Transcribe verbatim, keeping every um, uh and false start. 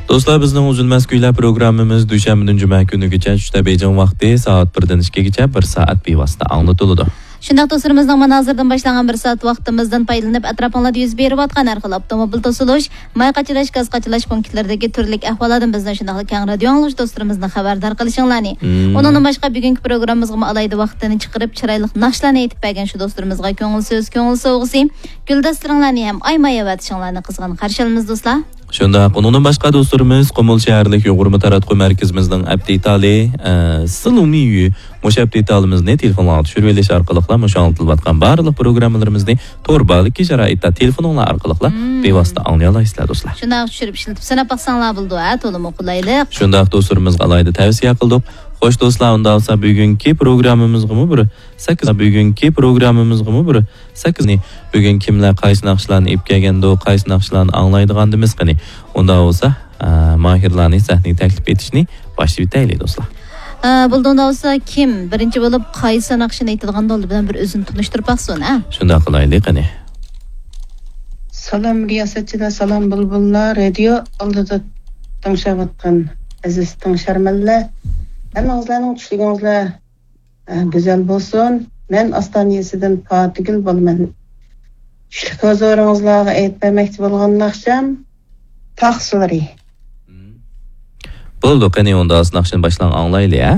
دوستلار، بىزنىڭ ئۈزۈلمەس كۈيلەر پروگراممىمىز دۈشەنبىدىن جۈمە كۈنىگىچە چۈشتە بېيجىڭ ۋاقتى سائەت بىردىن ئىككىگىچە بىر سائەت بىۋاسىتە ئاڭلىتىلىدۇ. شۇنداق دوستلىرىمىزنىڭ مانا ھازىردىن باشلانغان بىر سائەت ۋاقتىمىزدىن پايدىلىنىپ، ئەتراپىڭلاردا يۈز بېرىۋاتقان ھەر خىل ئاپتوموبىل توسۇلۇش، ماي قاچىلاش، گاز قاچىلاش پونكىتلىرىدىكى تۈرلۈك ئەھۋاللاردىن بىزنى شۇنداقلا كەڭ رادىيو ئاڭلىغۇچى دوستلىرىمىزنى خەۋەردار قىلىشىڭلارنى. مم. ئۇنىڭدىن باشقا، بۈگۈنكى پروگراممىمىزغىمۇ ئالاھىدە ۋاقتىنى چىقىرىپ، چىرايلىق ناخشىلارنى ئېيتىپ بەرگەن شۇ دوستلىرىمىزغا كۆڭۈل سۆز، كۆڭۈل سوۋغىسى، گۈلدەستىلىرىڭلارنى ھەم ئايىماي ئەۋەتىشىڭلارنى قىزغىن قارشى ئالىمىز، دوستلار. شۇنداق، ئۇنىڭدىن باشقا دوستلىرىمىز قۇمۇل شەھەرلىك يۇغۇرما تاراتقۇ مەركىزىمىزنىڭ ئەپ دېتالى، ئە، سىلۇمىيۈ مۇشۇ ئەپ دېتالىمىزنى تېلېفونغا چۈشۈرۈۋېلىش ئارقىلىقلا مۇشۇ ئاڭلىتىلىۋاتقان بارلىق پروگراممىلىرىمىزنى تور بارلىقى شارائىتتا تېلېفونۇڭلار ئارقىلىقلا مم. بىۋاسىتە ئاڭلىيالايسىلەر، دوستلار. شۇنداق چۈشۈرۈپ ئىشلىتىپ سىناپ باقساڭلار بولىدۇ، ھە، تولىمۇ قولايلىق. شۇنداق دوستلىرىمىزغا ئالاھىدە تەۋسىيە قىلدۇق. خوش دوستلار، ئۇنداق بولسا بۈگۈنكى پروگراممىمىزغىمۇ بىر سەككىز، بۈگۈنكى پروگراممىمىزغىمۇ بىر سەككىزنى، بۈگۈن كىملەر قايسى ناخشىلارنى ئېلىپ كەلگەندۇ، قايسى ناخشىلارنى ئاڭلايدىغاندىمىز قېنى؟ ئۇنداق بولسا، ئە، ماھىرلارنى سەھنىگە تەكلىپ ئېتىشنى باشلىۋېتەيلى، دوستلار. ئە، بولدى، ئۇنداق بولسا كىم بىرىنچى بولۇپ قايسى ناخشىنى ئېيتىدىغاندۇ، ئالدى بىلەن بىر ئۆزىنى تونۇشتۇرۇپ باقسۇن، ھە؟ شۇنداق قىلايلى قېنى. سالام رىياسەتچىلەر، سالام بۇلبۇللار، رادىيو ئالدىدا تىڭشاۋاتقان ئەزىز تىڭشارمەنلەر. ھەممىڭىزلەرنىڭ چۈشلۈكىڭىزلەر ئە، گۈزەل بولسۇن. مەن ئاستانىيەسىدىن پاتىگۈل بولىمەن. چۈشلۈك ھۇزۇرىڭىزلارغا ئېيتىپ بەرمەكچى بولغان ناخشام تاغ سۇلىرى. بولدى، قېنى ئۇندا ناخشىنى باشلاڭ، ئاڭلايلى، ھە؟